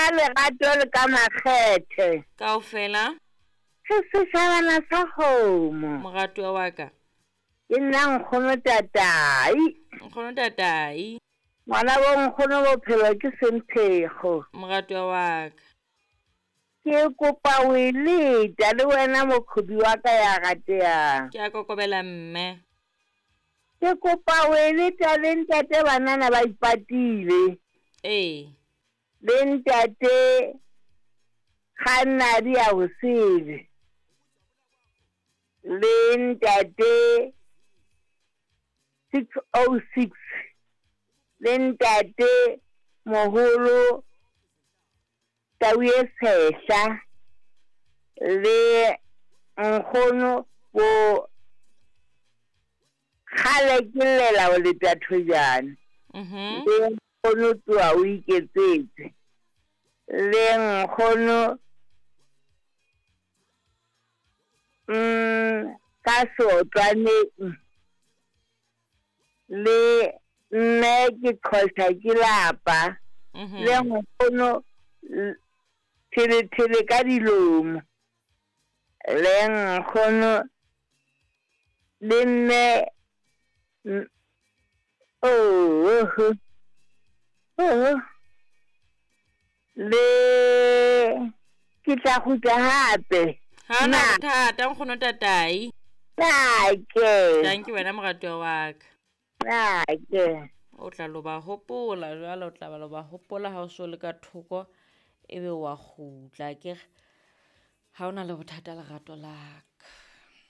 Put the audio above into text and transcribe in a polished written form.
Ka lerato le ka makgethe. Kaofela. Re setjhabana sa kgomo. Moratuwa wa ka. Ke nna nkgono Tatai. Nkgono Tatai. Ngwana bo nkgono bophelo ke semphego. Moratuwa wa ka. Ke kopa o e leta le wena mokgobi wa ka ya ratehang. Ke a kokobela mme. Ke kopa o e leta le ntate banana ba ipatile. Ee. Le ntate Kgannadi ya bosele. Le ntate 606. Le ntate moholo Tau e Tshehla. Le nkgono bo kgale ke llela ho leta thojane. Le nkgono tloha o iketsetse. Le nkgono ka seotlwaneng. Le mme ke qhosha ke lapa. Le nkgono thelethele ka dilomo. Le nkgono le mme oh oh le ke tla kgutla hape. Ha na bothata nkgono Tatai. Nake. Thank you wena moratuwa wa ka. Nake. O tla lo ba hopola jwale, o tla ba lo ba hopola ha o so le ka thoko ebe wa kgutla akere. Ha o na le bothata lerato la